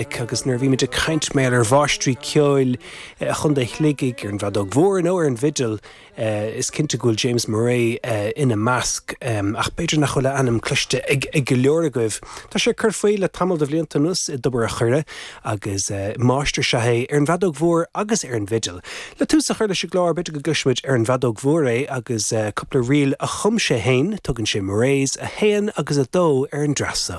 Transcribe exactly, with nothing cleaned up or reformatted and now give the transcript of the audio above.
Agus nuair bhí muid ag caint mar ar mháistrí ceoil eh, Chontae Shligigh ar an bhfeadóg mhór nó ar an bhfidil eh, is cinnte go bhfuil James Murray eh, ina measc ach b'fhéidir nach bhfuil a ainm cloiste ag ag go leor agaibh. Tá sé ag cur faoi le tamall de bhlianta anuas i dTobar an Choire agus máistir is ea é ar an bhfeadóg mhór agus ar an bhfidil. Le tús a chur leis an gclár b'fhéidir go gcloisfimid ar an bhfeadóg mhór é agus cúpla ríl a chum sé féin tugann sé Murray's a haon agus a dó ar an dreasa.